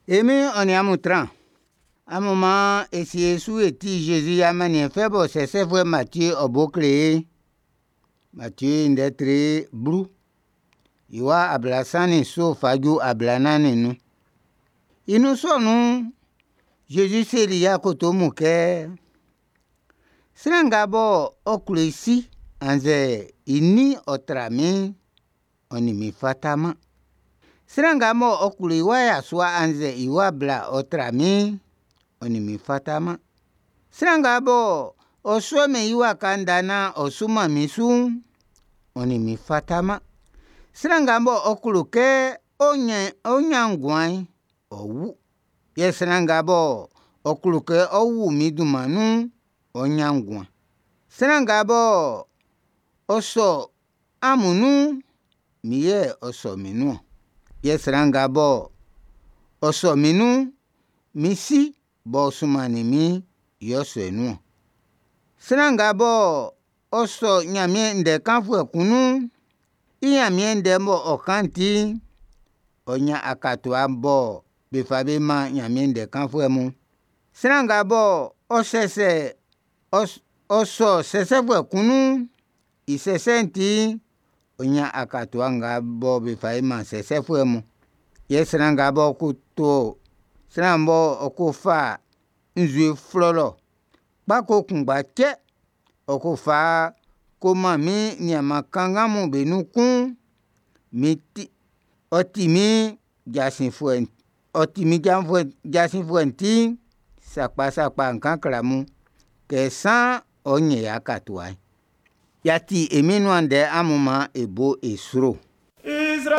E Min'n ɔ nin amun tran. Amun man e sie e su e ti Jésus i amanniɛn fɛ bɔ sɛsɛfuɛ Matie ɔ bo kle ye'n. Matie i ndɛ tre 10, i wa 37 fa ju 45. I nun sɔ nun'n, Jésus seli i akoto mun kɛ: Sran nga bɔ ɔ klo i si annzɛ i nin ɔ tra min'n, ɔ nin min fata-man. Sran nga bɔ ɔ klo i wa yasua annzɛ i wa bla ɔ tra min'n, ɔ nin min fata-man. Sran nga bɔ ɔ suɛ-mɛn i waka nda nan ɔ su-man min su'n, ɔ nin min fata-man. Sran nga bɔ ɔ klo kɛ ɔ ʼnyan nguan'n, ɔ ʼwu, yɛ sran nga bɔ ɔ klo kɛ ɔ ʼwu min dunman nun'n, ɔ ʼnyan nguan. Sran nga bɔ ɔ sɔ amun nun'n, min yɛ ɔ sɔ min nun-ɔn, yɛ sran nga bɔ ɔ sɔ min nun'n, min Si b'ɔ sunmannin min'n yɛ ɔ sɔ i nun-ɔn. Sran nga bɔ ɔ sɔ Nyanmiɛn ndɛ kanfuɛ kun nun'n, i Nyanmiɛn ndɛ b'ɔ kan'n ti'n, ɔ ʼnyan akatua bɔ be fa be man Nyanmiɛn ndɛ kanfuɛ mun'n. Sran nga bɔ ɔ sɛsɛ ɔ sɔ sɛsɛfuɛ kun nun'n, i sɛsɛ'n ti'n, ɔ ʼnyan akatua nga bɔ be fa man sɛsɛfuɛ mun'n. Yɛ sran nga b'ɔ ko to sran b'ɔ ko fa nzue flɔlɔ kpako kunngba cɛ ɔ ko fa ko man min nianman kanngan mun be nun kun'n, min ti, ɔ ti min jasin fuɛ'n, ɔ ti min janvuɛ jasin fuɛ'n ti'n, sakpa sakpa n ʼkan kle amun kɛ san ɔ ʼnyɛn i akatua'n. Y'a ti e Min'n nuan ndɛ, amun man e bo e sro.